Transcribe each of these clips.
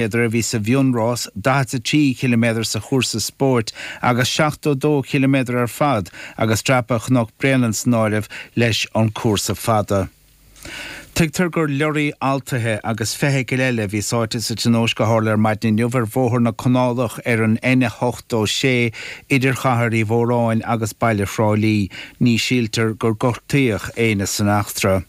A bhí sa mhionrás, 43 chiliméadar sa chúrsa spóirt agus 72 chiliméadar ar fad agus dreapadh Chnoc Bréanainn san áireamh leis an cúrsa fada. Tuigtear gur leoraí altaithe agus feithicil eile a bhí sáite sa tionóisc a tharla ar maidin inniu ar Bhóthar na Canálach ar an N86 idir Chathair Uí Mhóráin agus baile Thrá Lí. Ní shíltear gur gortaíodh éinne san eachtra.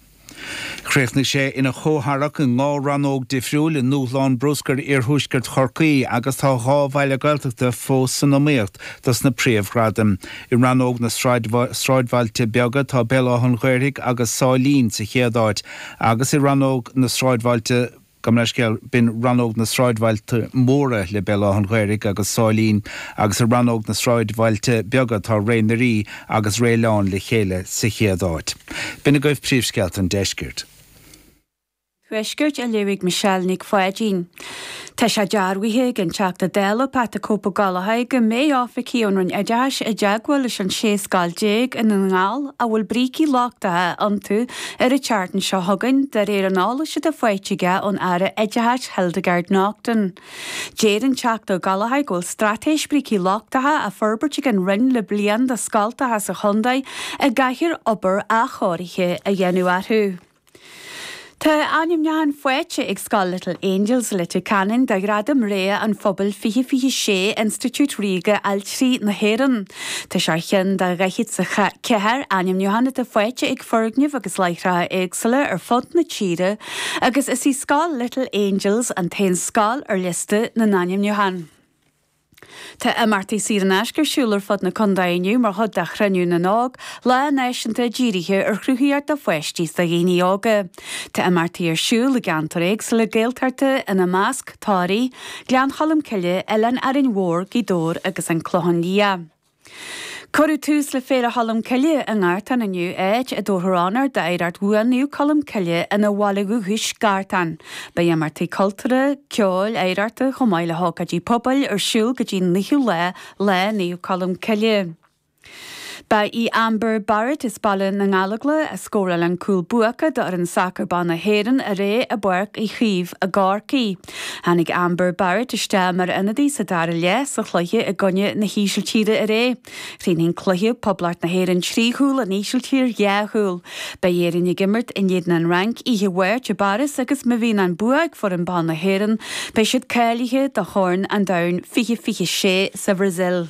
Chríochnaigh sé ina chomhtharrac i ndhá rannóg difriúil i nDúshlán Bruscair Iarthuaisceart Chorcaí agus tá 2 bhaile Gaeltachta fós san iomaíocht dos na príomhghradaim. I rannóg na sráidbhailte beaga tá Béal Átha an Ghaorthaidh agus Sáilín sa chéad áit agus i rannóg na sráidbhailte Gabh mo leithscéal, b'in rannóg na sráidbhailte móra le Béal Átha an Ghaorthaidh agus Sáilín agus i rannóg na sráidbhailte beaga tá Ré na Rí agus Réileán le chéile sa chéad áit. B'in agaibh príomhscéalta an deiscirt. Tuaiscirt á léamh ag Michelle Nic Pháidín. Tá sé dearbhaithe ag an Teachta Dála Pat 'The Cope Ó Gallchóir go mbeidh oifigigh ón Roinn Oideachais i dteagmháil leis an 16 scoil i nDún na nGall a bhfuil brící lochtacha iontu ar an tseachtain seo chugainn, de réir an eolais atá faighte aige ón Aire Oideachais Hildegarde Naughton. Deir an Teachta Ó Gallchóir go bhfuil straitéis brící lochtacha á forbairt ag an Roinn le bliain do scoltacha sa chontae a gcaithfear obair athchóirithe a dhéanamh orthu. Tá ainmniúchán faighte ag Scoil Little Angels Leitir Ceanainn do Ghradam Rogha an Phobail 2026 Institiúid Ríoga Ailtirí na hÉireann. Tá sé ar cheann de 44 ainmniúchán atá faighte ag foirgnimh agus láithreacha éagsúla ar fud na tíre agus is í Scoil Little Angels an t-aon scoil ar liosta na n-ainmniúchán. Tá imeachtaí saor in aisce ar siúl ar fud na contae inniu mar chuid de Chruinniú na nÓg, lá náisiúnta dírithe ar chruthaíocht do pháistí is do dhaoine óga. Tá imeachtaí ar siúl i gceantair éagsúla Gaeltachta, ina measc, Toraigh, Gleann Cholm Cille, Oileán Árainn Mhór, Gaoth Dobhair agus An Clochán Liath. Cuireadh tús le Féile Cholm Cille i nGartán inniu, áit a dtabharfar onóir d'oidhreacht bhuan Naomh Colm Cille ina bhaile dhúchais, Gartán. Beidh imeachtaí cultúrtha, ceoil, oidhreachta chomh maith le hócáidí pobail ar siúl go dtí an 9ú lá, Lá Naomh Colm Cille. Ba í Amber Barrett as Baile na nGallóglach a scóráil an cúl buacach d'fhoireann sacair ban na hÉireann aréir i bPáirc Uí Chaoimh i gCorcaigh. Tháinig Amber Barrett isteach mar ionadaí sa dara leath sa chluiche i gcoinne na hÍsiltíre aréir. Chríochnaigh an cluiche, Poblacht na hÉireann 3 chúl, an Ísiltír 2 chúl. Beidh Éirinn ag imirt in éadan an Fhrainc oíche Mháirt i bPáras agus má bhíonn an bua ag foireann ban na hÉireann, beidh siad cáilithe do Chorn an Domhain 2026 sa Bhrasaíl.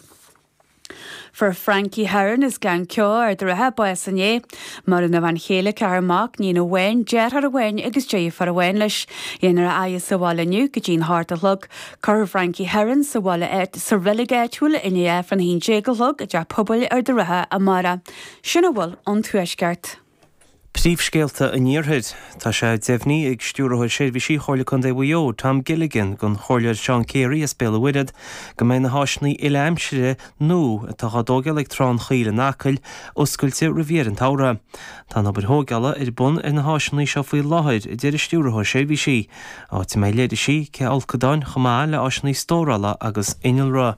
Fuair Frankie Heron as Gleann Ceo, Ard an Rátha, bás inné. Maireann a bhean chéile, ceathrar mac, níon amháin, deartháir amháin agus deirfiúr amháin leis. Dhéanfar a fhaire sa bhaile inniu go dtí'n hocht a chlog. Cuirfear Frankie Heron sa bhaile sa reilig áitiúil i ndiaidh Aifreann a haon déag a chlog i dTeach Pobail Ard an Rátha amárach. Sin a bhfuil ón Tuaisceart. Príomhscéalta an Iarthair. Tá sé deimhnithe ag Stiúrthóir Seirbhísí Chomhairle Contae Mhaigh Eo, Tom Gilligan, don Chomhairleoir Seán Carey as Béal an Mhuirthead go mbeidh na háiseanna uile-aimsire nua atá á dtógáil ag Trá an Choill in Acaill oscailte roimh dheireadh an tsamhraidh. Tá an obair thógála ar bun ar na háiseanna seo faoi láthair, a deir an Stiúrthóir Seirbhísí, áit a mbeidh leithrisí, cith fholcadáin chomh maith le áiseanna stórála agus innealra.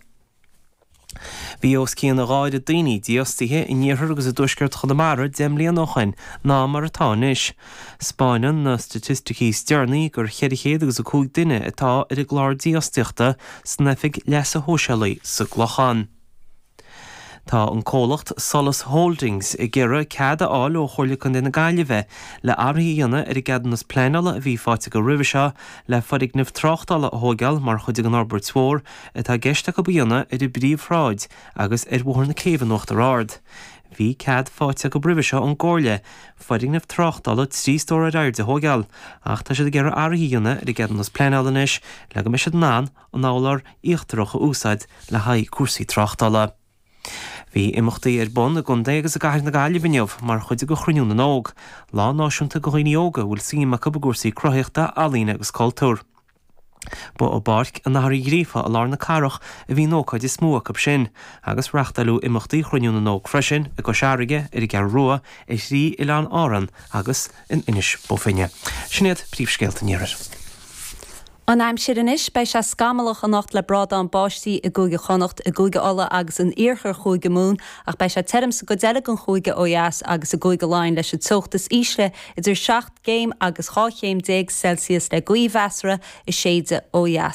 Bhí os cionn a dhá oiread daoine dífhostaithe in iarthar agus i dtuaisceart Chonamara 10 mbliana ó shoin ná mar atá anois. 'Spáineann na staitisticí is deireanaí gur 400 agus 5 duine atá ar an gclár dífhostaíochta san Oifig Leasa Shóisialaigh sa gClochán. Tá an comhlacht Solas Holdings ag iarraidh cead a fháil ó Chomhairle Contae na Gaillimhe le athruithe a dhéanamh ar an gceadúnas pleanála a bhí faighte acu roimhe seo le foirgneamh tráchtála a thóigeáil mar chuid den fhorbairt mhór atá i gceist acu a dhéanamh ar an bPríomhshráid agus ar Bhóthar na Céibhe in Uachtar Ard. Bhí cead faighte acu roimhe seo ón gComhairle foirgneamh tráchtála trí stór ar airde a thóigeáil ach tá siad ag iarraidh athruithe a dhéanamh ar an gceadúnas pleanála anois le go mbeidh siad in ann an urlár íochtarach a úsáid le haghaidh cúrsaí tráchtála. Bhí imeachtaí ar bun i gcontae agus i gcathair na Gaillimhe inniu mar chuid de Chruinniú na nÓg, lá náisiúnta do dhaoine óga a bhfuil suim acu i gcúrsaí cruthaitheachta, ealaíne agus cultúir. Ba i bPáirc an Athar Uí Ghríofa i lár na cathrach a bhí an ócáid is mó acu sin, agus reáchtáileadh imeachtaí Chruinniú na nÓg freisin i gCois Fharraige, ar an gCeathrú Rua, ar thrí oileán Árann agus in Inis Bó Finne. Sin iad príomhscéalta an Iarthair. An aimsir anois, beidh sé scamallach anocht le brádán báistí i gCúige Chonnacht, i gCúige Uladh agus in iarthar Chúige Mumhan ach beidh sé tirim sa gcuid eile den chúige ó dheas agus i gCúige Laighean leis an teocht is ísle idir 7 gcéim agus 12 chéim Celsius le gaoth mheasartha ag séideadh ó dheas.